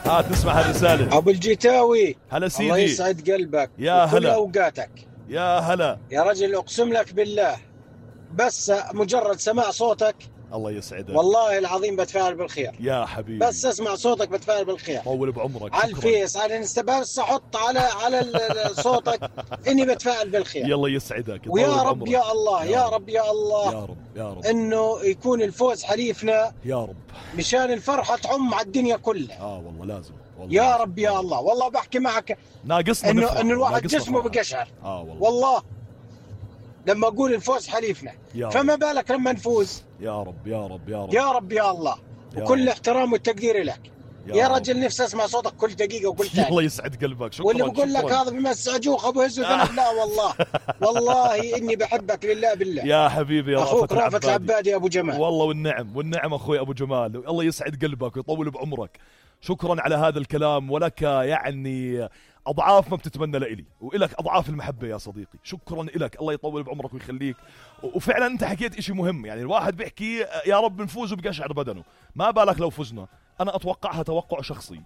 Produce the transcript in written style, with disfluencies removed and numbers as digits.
تسمع هالرسالة. ابو الجيتاوي، هلا سيدي، الله يسعد قلبك يا وكل هلا اوقاتك. يا هلا يا رجل اقسم لك بالله، بس مجرد سماع صوتك الله يسعدك والله العظيم بتفائل بالخير. يا حبيبي، بس اسمع صوتك بتفائل بالخير. طول بعمرك. على الفيس، على الانستا، بس احط على صوتك اني بتفائل بالخير. يلا يسعدك ويا رب يا الله، يا رب يا الله، يا رب يا رب، انه يكون الفوز حليفنا يا رب، مشان الفرحه تعم على الدنيا كلها. والله لازم، والله يا لازم. رب يا الله. والله بحكي معك ناقصنا انه الواحد جسمه بقشعر. والله لما اقول الفوز حليفنا، فما بالك لما نفوز. يا رب يا رب يا رب يا رب يا الله. وكل الاحترام والتقدير لك يا رجل. نفسي اسمع صوتك كل دقيقه وكل ثانيه. الله يسعد قلبك. شكرا. واللي بقول لك هذا بمسع جوخ ابو هز وذنب، لا والله والله اني بحبك لله بالله يا حبيبي. يا اخوك رافت العبادي ابو جمال. والله والنعم اخوي ابو جمال، الله يسعد قلبك ويطول بعمرك. شكرا على هذا الكلام، ولك يعني أضعاف ما بتتمنى لإلي، وإلك أضعاف المحبة يا صديقي. شكرا إلك، الله يطول بعمرك ويخليك. وفعلا أنت حكيت إشي مهم، يعني الواحد بيحكي يا رب نفوز وبقشعر بدنه، ما بالك لو فزنا. أنا أتوقعها توقع شخصي،